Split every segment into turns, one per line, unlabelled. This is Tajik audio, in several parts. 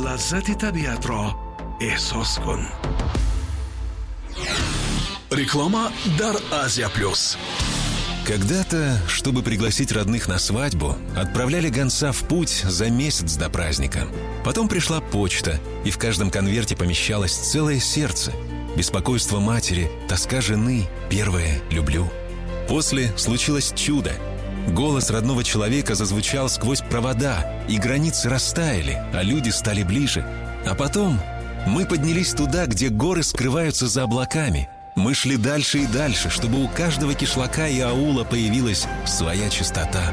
Лаззати табиатро эҳсос кун. Реклама дар Азия Плюс.
Когда-то, чтобы пригласить родных на свадьбу, отправляли гонца в путь за месяц до праздника. Потом пришла почта, и в каждом конверте помещалось целое сердце. Беспокойство матери, тоска жены, первое «люблю». После случилось чудо. Голос родного человека зазвучал сквозь провода, и границы растаяли, а люди стали ближе. А потом мы поднялись туда, где горы скрываются за облаками. Мы шли дальше и дальше, чтобы у каждого кишлака и аула появилась своя чистота.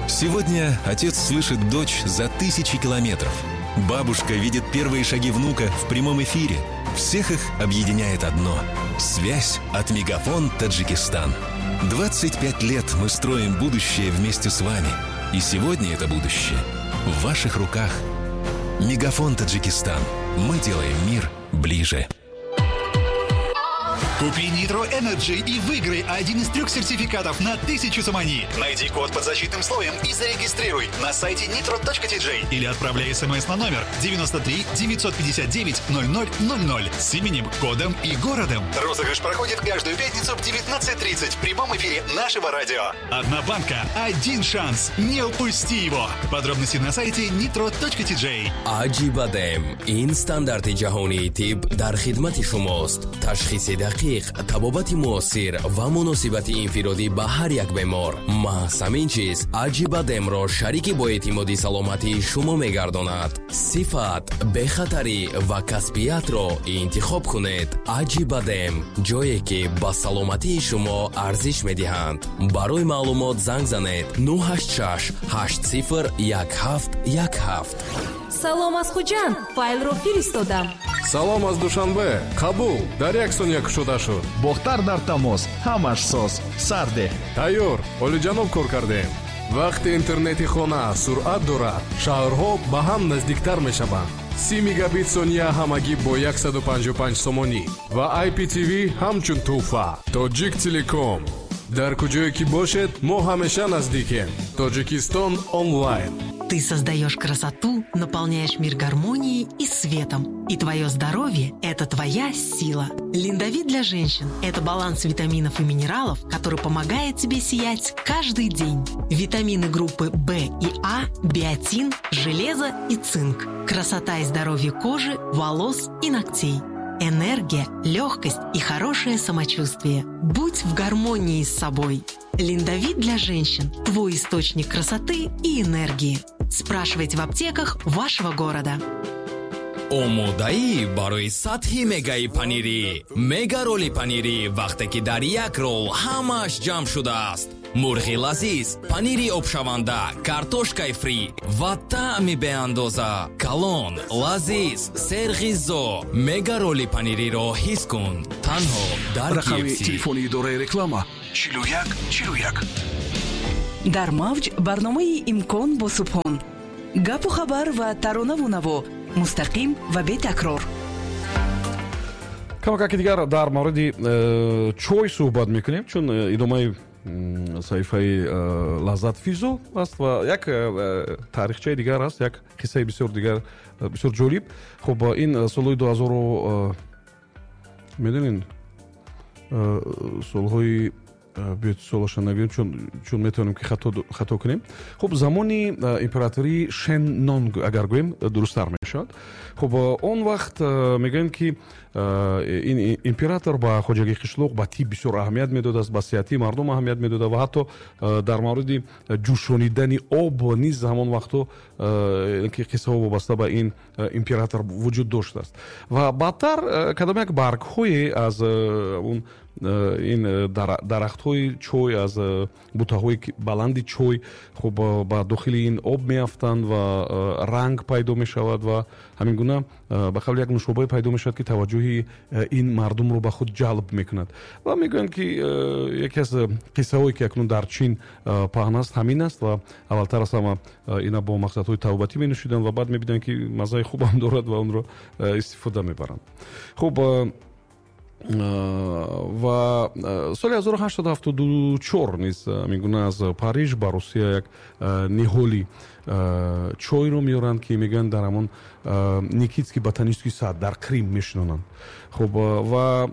Сегодня отец слышит дочь за тысячи километров. Бабушка видит первые шаги внука в прямом эфире. Всех их объединяет одно – связь от Мегафон Таджикистан. 25 лет мы строим будущее вместе с вами. И сегодня это будущее в ваших руках. Мегафон Таджикистан. Мы делаем мир ближе.
Купи Nitro Energy и выиграй один из трех сертификатов на 1000 сомони. Найди код под защитным слоем и зарегистрируй на сайте nitro.tj или отправляй смс на номер 93 959 0000 с именем, кодом и городом. Розыгрыш проходит каждую пятницу в 19:30 в прямом эфире нашего радио. Одна банка, один шанс. Не упусти его. Подробности на сайте nitro.tj.
Аҷибадем ин стандарти ҷаҳонии тиб дар хидмати шумост. Ташхиси дақиқ, табобати муосир ва муносибати инфиродӣ ба ҳар як бемор. Маҳз ҳамин чиз Аҷибадемро шарики боэътимоди саломатии шумо мегардонад. Сифат, бехатарӣ ва касбиятро интихоб кунед. Аҷибадем, ҷое ки ба саломатии шумо арзиш медиҳанд. Барои маълумот занг занед 986 80 17 17.
Салом аз Хуҷанд, файлро фиристодам.
Салом аз Душанбе, қабул, дар як сония кушода шуд.
Бохтар дар тамос, ҳамаш соз, сарде.
Тайёр, олиҷаноб кор кардем. Вақте интернети хона суръат дорад, шаҳрҳо ба ҳам наздиктар мешаванд. 30 мегабит сония ҳамагӣ бо 155 сомонӣ ва IPTV ҳамчун тӯҳфа. Тоҷик Телеком. Дар куҷое ки бошед, мо ҳамеша наздикем. Тоҷикистон онлайн.
Ты создаешь красоту, наполняешь мир гармонией и светом. И твое здоровье – это твоя сила. Линдовит для женщин – это баланс витаминов и минералов, который помогает тебе сиять каждый день. Витамины группы В и А, биотин, железо и цинк. Красота и здоровье кожи, волос и ногтей. Энергия, легкость и хорошее самочувствие. Будь в гармонии с собой. Линдовит для женщин – твой источник красоты и энергии. Спрашивайте в аптеках вашего города.
Омодаӣ барои сатҳи мегаи панирӣ, мега роли панирӣ, вақте ки дар як рол ҳамааш ҷамъ шудааст: мурғи лазиз, панири обшаванда, картошкаи фри ва таъми беандоза. Калон, лазиз, серғизо. Мега роли панириро ҳис кун танҳо дар
Рақами
KFC.
телефони идораи реклама 41 41.
Дар мавҷ барномаи «Имкон» бо Субҳон. Гапу хабар ва таронаву наво мустақим ва бетакрор.
Камакаки дигар дар мавриди чой суҳбат мекунем, чун идомаи саҳифаи Лаззат Физо аст ва як таърихчаи дигар аст, як қиссаи бисёр дигар, бисёр ҷолиб. Хуб, ин солҳои дуҳазору, медонед, солҳои, биёед, солаша нагӯем, чун метавонем ки хато кунем. Хуб, замони императории Шен Нонг агар гӯем, дурусттар мешавад. Хуб, он вақт мегӯем, ки ин император ба хоҷагии қишлоқ, ба тиб бисёр аҳамият медодааст, ба сиҳатии мардум аҳамият медода ва ҳатто дар мавриди ҷӯшонидани об низ ҳамон вақтҳо ки қиссаҳо вобаста ба ин император вуҷуд доштааст. Ва баъдтар кадом як баргҳое аз он ин дарахтҳои чой, аз бутаҳои баланди чой, хуб, ба дохили ин об меафтанд ва ранг пайдо мешавад ва ҳамин гуна ба қавли як нушобае пайдо мешавад, ки таваҷҷӯҳи ин мардумро ба худ ҷалб мекунад. Ва мегӯянд, ки яке аз қиссаҳое, ки акнун дар Чин паҳн аст, ҳамин аст. Ва аввалтар аз ҳама ина бо мақсадҳои табобатӣ менӯшиданд ва баъд мебинанд, ки маззаи хубам дорад ва онро истифода мебаранд. Хуб, ва соли 1874 низ ҳамин гуна аз Париж ба Русия як ниҳоли Чойро меоранд, ки мегӯянд, дар ҳамон Никитский ботанический сад дар Крим мешинонанд. Хуб, ва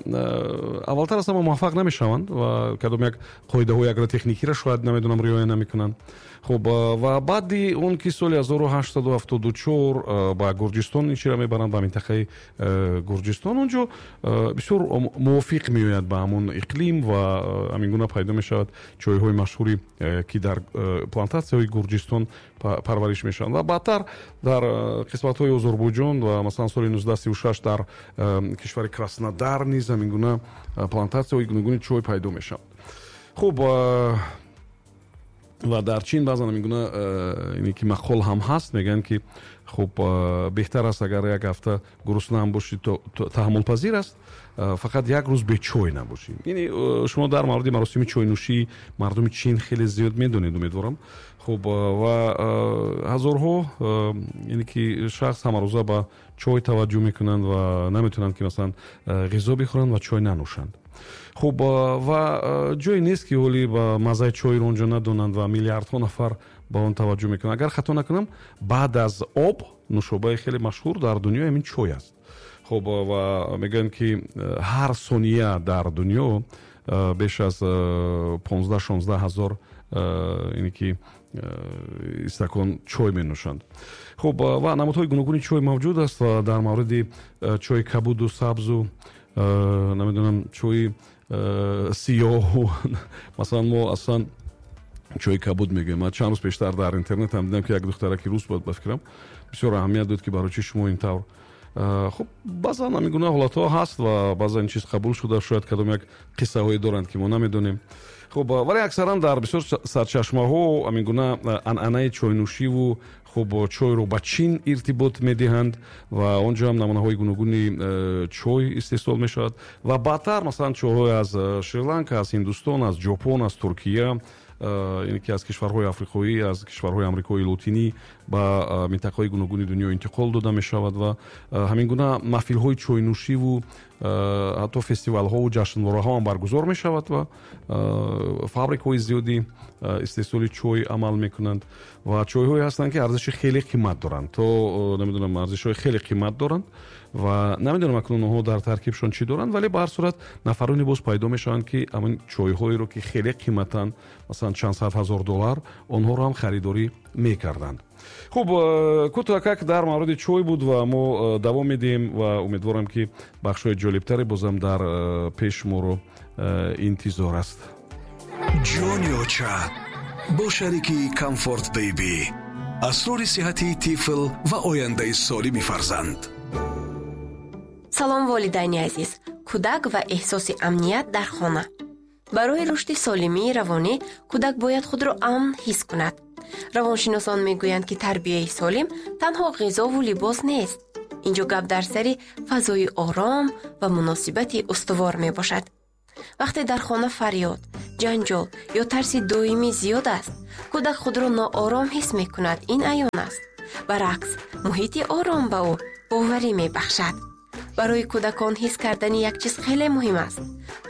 аввалтар аз ҳама муваффақ намешаванд ва кадом як қоидаҳои агротехникиро шояд, намедонам, риоя намекунанд. Хуб, ва баъди он ки соли 1874 ба Гурҷистон ин чиро мебаранд, ба минтақаи Гурҷистон, он ҷо бисёр мувофиқ меояд ба ҳамон иқлим ва ҳамин гуна пайдо мешавад чойҳои машҳури, ки дар плантатсияҳои Гурҷистон парвариш мешаванд ва баъдтар дар қисматҳои Озарбойҷон ва масалан соли 1936 дар кишвари Краснодар низ ҳамин гуна плантатсияҳои гуногуни чой пайдо мешавад. Хуб, ва дар Чин баъзан ҳамин гуна ине ки мақол ҳам ҳаст, мегӯянд, ки хуб, беҳтар аст, агар як ҳафта гурусна ҳам бошӣ, таҳаммулпазир аст, фақат як рӯз бечой набошӣ. Яъне шумо дар мавриди маросими чойнӯшии мардуми Чин хеле зиёд медонед, умедворам. Хуб, ва ҳазорҳо, яъне ки шахс ҳамарӯза ба чой таваҷҷӯҳ мекунанд ва наметавонанд, ки масалан ғизо бихӯранд ва чой нанӯшанд. Хуб, ва ҷое нест, ки ҳоли ба маззаи чойро онҷо надонанд ва миллиардҳо нафар ба он таваҷҷӯҳ мекунанд. Агар хато накунам, баъд аз об нӯшобаи хеле машҳур дар дунё ҳамин чой аст. Хуб, ва мегӯянд, ки ҳар сония дар дунё беш аз 15-16 ҳазор, ине ки истакон чой менӯшанд. Хуб, ва намудҳои гуногуни чой мавҷуд аст ва дар мавриди чои кабуду сабзу, намедонам, чои сиёҳу, масалан, мо аслан чои кабуд мегӯем. Ман чанд рӯз пештар дар интернет ҳам дидам, ки як духтараки рус буд, ба фикрам, бисёр аҳамият дод, ки барои чӣ шумо ин тавр. Хуб, баъзан ҳамин гуна ҳолатҳо ҳаст ва баъзан ин чиз қабул шуда, шояд кадом як қиссаҳое доранд, ки мо намедонем. Хуб, вале аксаран дар бисёр сарчашмаҳо ҳамин гуна анъанаи чойнӯшиву, хуб, чойро ба Чин иртибот медиҳанд ва он ҷо ҳам намунаҳои гуногуни чой истеҳсол мешавад ва баъдтар масалан чойҳое аз Шри-Ланка, аз Ҳиндустон, аз Ҷопон, аз Туркия, яъне ки аз кишварҳои африқоӣ, аз кишварҳои Амрикои Лотинӣ ба минтақаҳои гуногуни дунё интиқол дода мешавад ва ҳамин гуна маҳфилҳои чойнӯшиву ҳатто фестивалҳову ҷашнвораҳо ҳам баргузор мешавад ва фабрикаҳои зиёди истеҳсоли чой амал мекунанд ва чойҳое ҳастанд, ки арзиши хеле қимат доранд, то намедонам, арзишҳои хеле қимат доранд ва намедонам акнун онҳо дар таркибшон чӣ доранд, вале ба ҳар сурат нафароне боз пайдо мешаванд, ки ҳамин чойҳоеро, ки хеле қиматанд, масалан чанд сад ҳазор доллар, онҳоро ҳам харидорӣ мекарданд. Хуб, кӯтоҳакак дар мавриди чой буд ва мо давом медиҳем ва умедворам, ки бахшҳои ҷолибтаре бозам дар пеш моро интизор аст.
Ҷони оча бо шарики Комфорт Бейби, асрори сиҳати тифл ва ояндаи солими фарзанд.
Салом, волидайни азиз! Кӯдак ва эҳсоси амният дар хона. Барои рушди солимии равонӣ кӯдак бояд худро амн ҳис кунад. Равоншиносон мегӯянд, ки тарбияи солим танҳо ғизову либос нест. Инҷо гап дар сари фазои ором ва муносибати устувор мебошад. Вақте дар хона фарёд, ҷанҷол ё тарси доимӣ зиёд аст, кӯдак худро ноором ҳис мекунад. Ин аён аст. Баръакс, муҳити ором ба ӯ боварӣ мебахшад. Барои кӯдакон ҳис кардани як чиз хеле муҳим аст: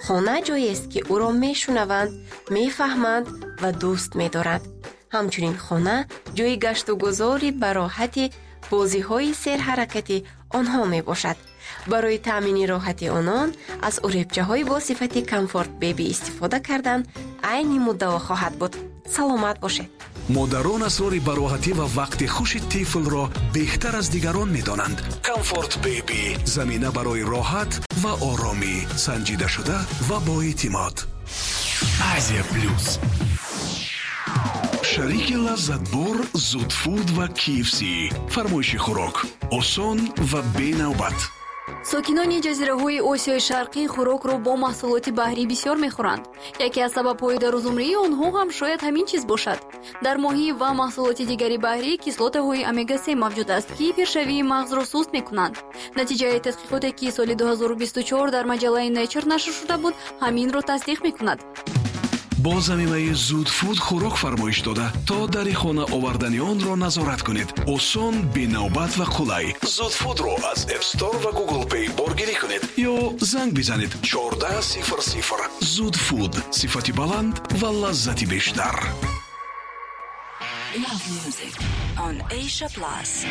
хона ҷоест, ки ӯро мешунаванд, мефаҳманд ва дӯст медоранд. Ҳамчунин хона ҷои гаштугузори бароҳати, бозиҳои серҳаракати онҳо мебошад. Барои таъмини роҳати онон аз уребчаҳои бо сифати Комфорт Беби истифода кардан айни муддао хоҳад буд. Саломат бошед!
Модарон асрори бароҳатӣ ва вақти хуши тифлро беҳтар аз дигарон медонанд. Комфорт Бейби, замина барои роҳат ва оромӣ, санҷидашуда ва боэътимод.
Азия Плюс.
Шарики лаззатбор Зудфуд ва KFC. Фармоиши хӯрок осон ва бенавбат.
Сокинони ҷазираҳои Осиёи Шарқӣ хӯрокро бо маҳсулоти баҳрӣ бисёр мехӯранд. Яке аз сабабҳои дарозумрии онҳо ҳам шояд ҳамин чиз бошад. Дар моҳӣ ва маҳсулоти дигари баҳрӣ кислотаҳои омега-3 мавҷуд аст, ки пиршавии мағзро суст мекунанд. Натиҷаи тадқиқоте, ки соли 2024 дар маҷаллаи Nature нашр шуда буд, ҳаминро тасдиқ мекунад.
Бо замимаи Зудфуд хӯрок фармоиш дода, то дари хона овардани онро назорат кунед. Осон, бенавбат ва қулай. Зудфудро аз App Store ва Google Play боргирӣ кунед ё занг бизанед 1400. Зудфуд: сифати баланд ва лаззати бештар.
Love Music on Asia Plus.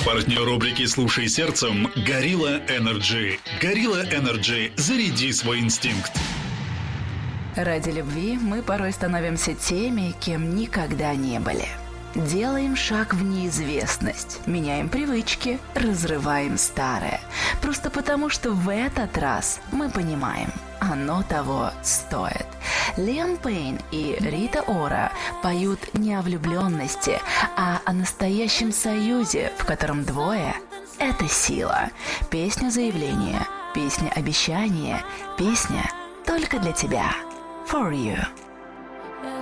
Партнер рубрики «Слушай сердцем» «Горилла Energy». «Горилла Energy». Заряди свой инстинкт.
Ради любви мы порой становимся теми, кем никогда не были. Делаем шаг в неизвестность, меняем привычки, разрываем старое. Просто потому, что в этот раз мы понимаем, оно того стоит. Лиам Пейн и Рита Ора поют не о влюбленности, а о настоящем союзе, в котором двое – это сила. Песня заявления, песня обещания, песня только для тебя. For you.